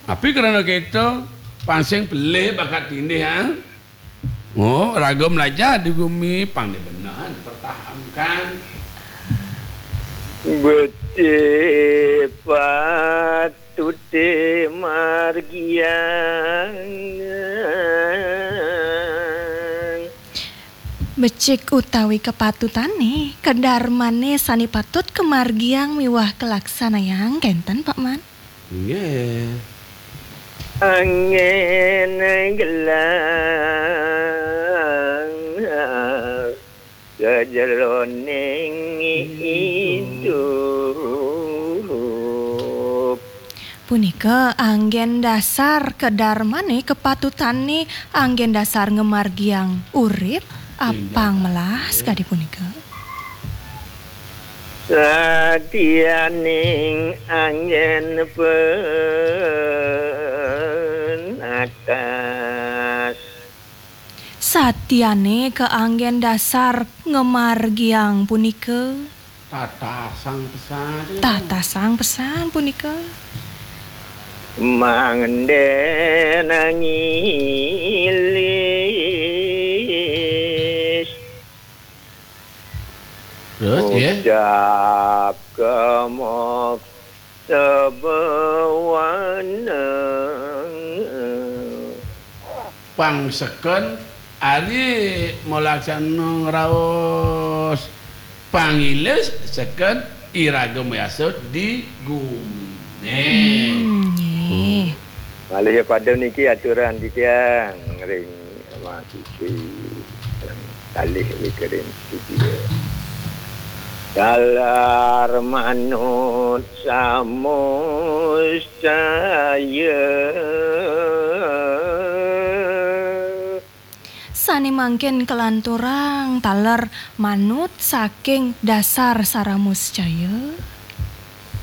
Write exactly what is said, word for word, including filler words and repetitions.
Tapi krana kéto, pang sing pelih bakat tindih, ha? Oh, raga mlajah di gumi, pang dadi beneh, pertahankan. Becik patuté margiang. Becik utawi kapatutané, kadarmané sané patut kamargiang miwah kalaksanayang, kénten, Pak Man? Inggih. Anggén gelah sajeroning idup. Punika anggén dasar kadarmané, kapatutané, anggén dasar ngamargiang urip, apang melah sakadi punika. Satianing anggén penatas. Satiané kaanggén dasar ngamargiang punika. Tatasang pesan. Tatasang pesan punika. Mangdén ngilis. Terus, ya. Ngucap kemok sebewaneng. Pang seken ari malaksana ngraos pangilis seken iraga mayasud di guminé. Hmm, nggih. Malih ya pada niki aturan titiang ring mahasiswi. Kalih wikirin studio. Talar manut samuscaya. Sané mangkin kalanturang taler manut saking dasar saramuscaya.